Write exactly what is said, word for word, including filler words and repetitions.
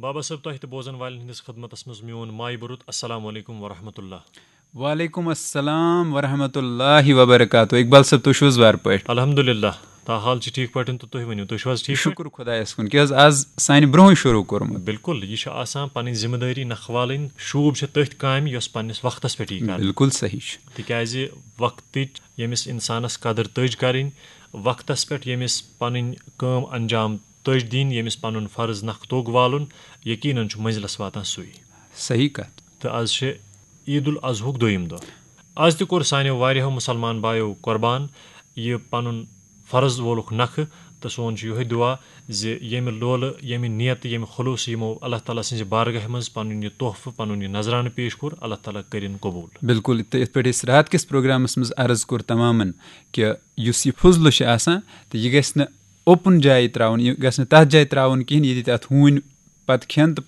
بابا صٲب، تۄہہِ تہٕ بوزن والٮ۪ن ہٕنٛدِس خدمتس منٛز میون مایہِ بُرُت السلام علیکم ورحمۃ اللہ۔ وعلیکم السلام ورحمۃ اللہ وبرکاتہ۔ اقبال صٲب، تُہۍ چھِو حظ وارٕ پٲٹھۍ؟ الحمدللہ، تا حال چھِ ٹھیٖک پٲٹھۍ تہٕ تُہۍ ؤنِو، تُہۍ چھِو حظ ٹھیٖک پٲٹھۍ؟ شُکُر خۄدایَس کُن، کیٛاہ حظ آز سانہِ برونٛہٕے شروٗع کوٚرمُت۔ بِلکُل، یہِ چھِ آسان پنٕنۍ ذِمہٕ دٲری نکھوالٕنۍ، شوٗب چھِ تٔتھۍ کامہِ یۄس پننِس وقتس پٮ۪ٹھ یی کرنہٕ۔ بِلکُل صحیح چھُ۔ تِکیازِ وقتٕچ ییٚمِس انسانس قدر تٔج کرٕنۍ، وقتس پٮ۪ٹھ ییٚمِس پنٕنۍ کٲم انجام تٔج دِنۍ، ییٚمِس پنُن فرض نکھ توٚگ والُن، یقیناً چھُ منزلس واتان سُے۔ صحیح کتھ۔ تہٕ از چھِ عید الاضحیٰ ہُک دوٚیِم دۄہ۔ از تہِ کوٚر سانیو واریاہو مُسلمان بایو قۄربان یہِ پنُن فرض وولُکھ نکھٕ، تہٕ سون چھُ یِہوٚے دُعا زِ ییٚمہِ لولہٕ، ییٚمہِ نیتہٕ، ییٚمہِ خلوصہٕ یِمو اللہ تعالیٰ سٕنٛزِ بارگاہہِ منٛز پنُن یہِ تحفہٕ، پنُن یہِ نذرانہٕ پیش کوٚر، اللہ تعالیٰ کٔرِن قبوٗل۔ بِلکُل، تہٕ یِتھ پٲٹھۍ أسۍ راتھ کِس پروگرامس منٛز عرض کوٚر تمامن کہِ یُس یہِ فضلہٕ چھُ آسان، تہٕ یہِ گژھِ نہٕ اوپن جایہِ ترٛاوُن، یہِ گژھِ نہٕ تتھ جایہِ ترٛاوُن کِہیٖنۍ ییٚتہِ تتھ ہوٗنۍ پتہٕ کھٮ۪ن تہٕ پتہٕ